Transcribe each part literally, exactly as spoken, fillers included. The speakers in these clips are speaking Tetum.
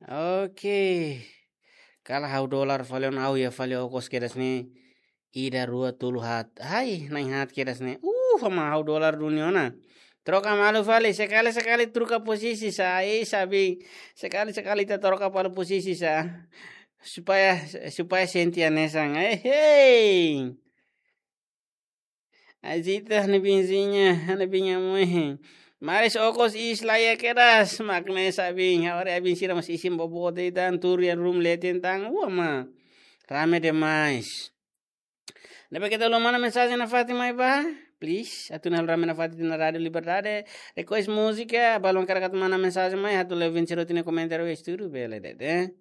Oke. Kala ha'u dolar fali ona, ha'u iha fali okos kedas ne'e. Ida, rua, tolu, haat. Ai, na'in haat kedas ne'e. Uh, ama ha'u dolar duni ona. Troka malu fali, sekali-sekali troka posisi sá. Eh, sabi. Sekali-sekali ita troka fali posisi sá. Supaya, supaya sente hanesan. Eh, hei. Azita, ha'u-nia biinha, ha'u-nia biin moe. Maris okos iis laiha kedas, mak ne'e sá biin. Agora biin sira mós isin boboot de'it tan, tuur iha room leten tan, ua ma. Rame demais. Ne'ebé keta haluha manda mensajen nafatin mai bá, please. Atu halo rame nafatin iha Rádio Liberdade. Request múzika, balun karik atu manda mensajen mai, atu lewin sira-nia komentáriu iha estúdiu, bele de'it, eh.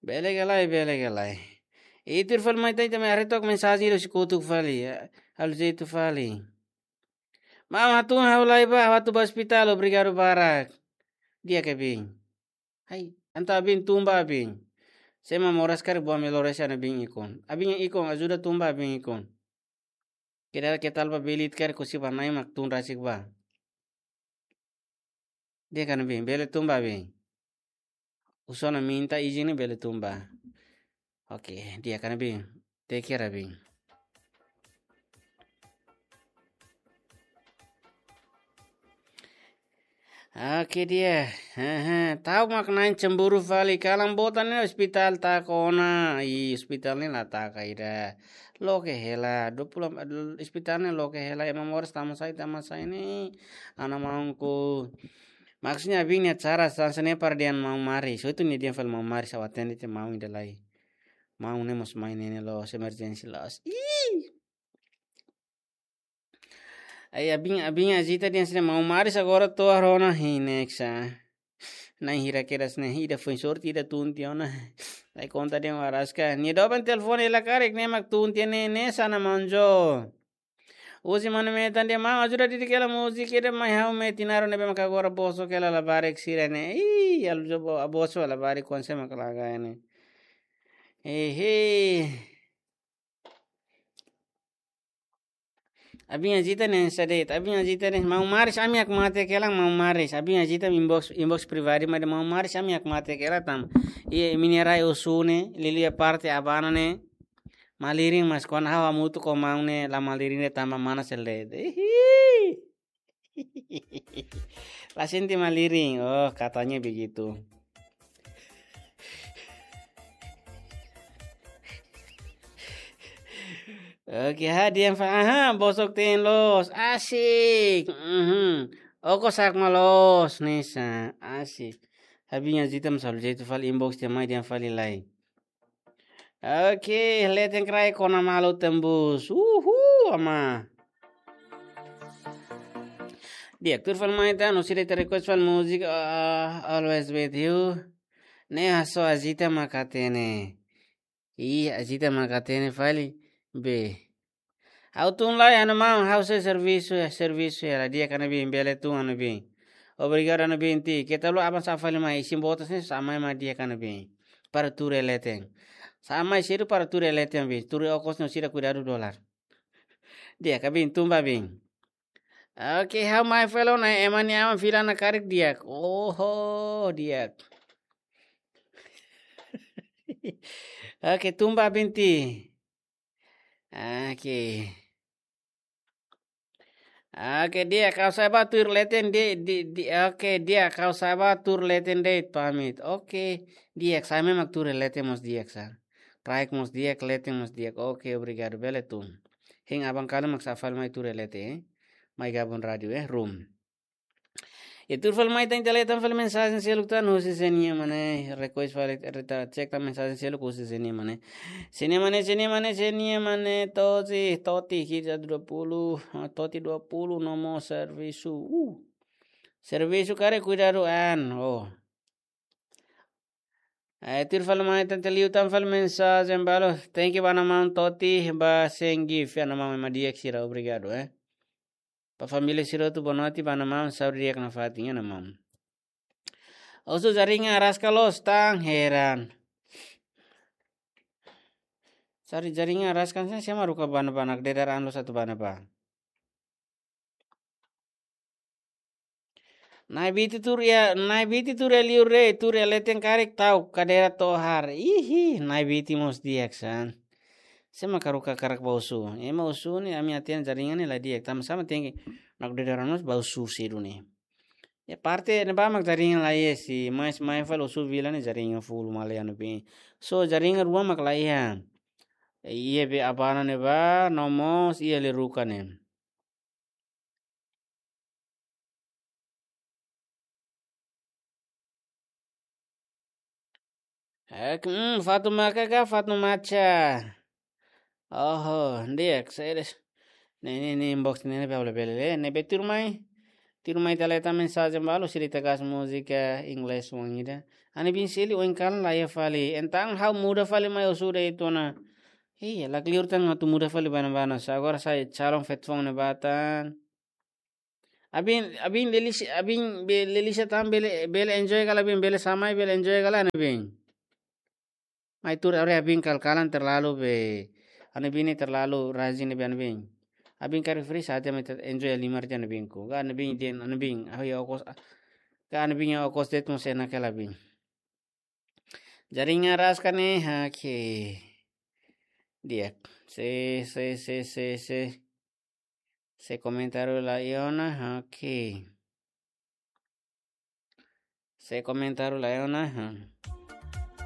Bele ka lae, bele ka lae. Ita tuur fali mai tan, ita mai haree took mensajen ida husi kotuk fali, ya. Halo jeitu fali. Maun, hatún ha'u lai bá, ha'u atu bá ospitál, obrigadu barak. Di'ak ka biin? Ai, entaun biin tun bá biin. Se Maun Moras karik bá melhor ese ha'u-nia biin ikun. Ha'u-nia biin ikun, ajuda tun bá biin ikun. Keda ke talba belit karik husi bá Na'i mak tun rasik bá. Di'ak ka lae biin, bele tun bá biin. Husu ona minta izin ne'e bele tun bá. Oke, di'ak ka lae biin. Take care biin. Oke, di'ak. Hehe, ta'uk mak na'in cemburu fali, kalan boot ne'e ospitál taka ona. Ih, ospitál ne'e la taka ida. Loke hela, dua puluh, ospitál ne'e loke hela, ema moras tama sai, tama sai ne'e. Ha'u-nia maun ku. Maksudnya biin nia cara sansa ne'e para dehan Maun Maris. So itu nia dehan fali Maun Maris, ha'u atende tiha maun ida lai. Maun ne'e mós mai ne'e loos, emergency loos. Ih. Ai, ha'u-nia biin, ha'u-nia biin Azita dehan sira Maun Maris agora to'o rona hinek sá. Na'in hira kedas ne'e, ida foin sorte, ida tun tiha ona. Ai, konta dehan araska. Nia doben telefone hela karik, ne'e mak tun tiha ne'e, ne'e sá na manjo. Husi mana metan dehan maun ajuda didik hela múzika ida mai ha'u metin arun ne'ebé maka agora bosok hela labarik sira ne'e. Ih, alu jobo a bosok labarik konse mak laga ne'e. Ehe. Ha'u-nia biin Azita ne'e sá de'it, ha'u-nia biin Azita ne'e, Maun Maris, ami hakmatek hela, Maun Maris, ha'u-nia biin Azita inbox, inbox pribadi mai dehan Maun Maris, ami hakmatek hela tanba. Iha imi-nia rai osu ne'e, liuliu parte abana ne'e, malirin mas kuandu ha'u hamutuk ho maun ne'e, la malirin de'it tanba mana sel de'it. Ihi. La sente malirin. Oh, katanya begitu. Oke, ha'u dehan fali, aha, bosok-teen loos, asik. Mhm. Okos hakmatek loos, ne'e sá, asik. Ha'u-nia biin Azita mós halo jeitu fali inbox tiha mai dehan fali lai. Oke, leten kraik kona malu tembus. Uhu, ama. Di'ak, tuur fali mai tan, husi ida ita request fali múzika, ah, Always With You. Ne'e hasoru Azita mak hatene. Ih, Azita mak hatene fali. Be. Ha'u tun lai, ha'u-nia maun, ha'u sei servisu, servisu hela, di'ak ka lae biin, bele tun ha'u-nia biin. Obrigadu ha'u-nia biin tiha. Keta haluha aban sa'e fali mai, isin boot ne'e sa'e mai mak di'ak ka lae biin. Para tuur iha leten. Sa'e mai sedu para tuur iha leten biin. Tuur iha okos no sira kuidadu dolar. Di'ak ka biin, tun bá biin. Oke, ha'u mai fali ona, ema nia aman fila ona karik di'ak. Oho, di'ak. Oke, tun bá biin tiha. Oke. Oke, di'ak, ha'u sa'e bá tuur leten di, di, di, oke, di'ak, ha'u sa'e bá tuur leten de'it pamit. Oke, di'ak, sa'e mai mak tuur leten mós di'ak sá. Kraik mós di'ak, leten mós di'ak. Oke, obrigadu, bele tun. Hein aban kalan mak sa'e fali mai tuur leten, eh. Mai gabung rádiu, eh, room. Ita tuur fali mai tan, ita lee tan fali mensajen seluk tan husi sé-nia ema ne'e, request fali, ita cek tan mensajen seluk husi sé-nia ema ne'e. Sé-nia ema ne'e, sé-nia ema ne'e, sé-nia ema ne'e, Toti, Toti, kita dua puluh, ah, Toti dua puluh, no mós servisu. Uh. Servisu karik kuidadu an, oh. Eh, tuur fali mai tan, ita liu tan fali mensajen balu. Thank you ba ha'u-nia maun Toti, ba Sengif, ha'u-nia maun ema di'ak sira, obrigadu, eh. Ba família sira hotu boa noite, ba ha'u-nia maun, saúde di'ak nafatin, ha'u-nia maun. Husu jaringan araska loos, tan heran. Sari jaringan araska sá, sé mak haruka bá ne'ebá, mak dedar an loos atu bá ne'ebá. Nai Biti tuur iha, Nai Biti tuur iha liur de'it, tuur iha leten karik tau kadeira tohar. Ihi, Nai Biti mós di'ak sá. Sé mak haruka hakarak bá husu. Ema husu ne'e ami hatene jaringan ne'e la di'ak. Tanba sá mak tenke mak de'it orang mós bá husu sedu ne'e. Iha parte ne'ebá mak jaringan la iha, se mai, se mai fali husu vila ne'e jaringan full malian be. So jaringan rua mak la iha. Iha be Abana ne'ebá, no mós iha Leruka ne'e. Ek, mm, Fatu Maka ka Fatu Maca? Oho, di'ak, seres. Ne'e, ne'e, ne'e inbox ne'e, ne'e, bele, bele, le, ne'e, be tuur mai. Tuur mai ita leta mensajen balu, sira ita gas múzika, inglés, oan ida. Ha'u-nia biin Sili, oin kalan la iha fali. Entaun, ha'u muda fali mai husu de'it ona. Iya, la clear tan atu muda fali bana-bana. Sá agora sai calon feto foun ne'ebá tan. Abin, abin Lelisa, abin be, Lelisa tan bele, bele enjoy kala abin, bele samai, bele enjoy kala ha'u-nia biin. Mai tuur, ore abin kal-kalan terlalu be, ha'u-nia biin ne'e terlalu rajin be ha'u-nia biin. Abin karik free saat yang enjoy lima jam ha'u-nia biin ku. Ka ha'u-nia biin dehan, ha'u-nia biin, ah, ya okos, ka ha'u-nia biin ya okos de'it mós enak kala abin. Jaringan ras ka ne'e, oke. Di'ak. Se, se, se, se, se. Se komentáriu la iha ona, oke. Se komentáriu la iha ona, ha.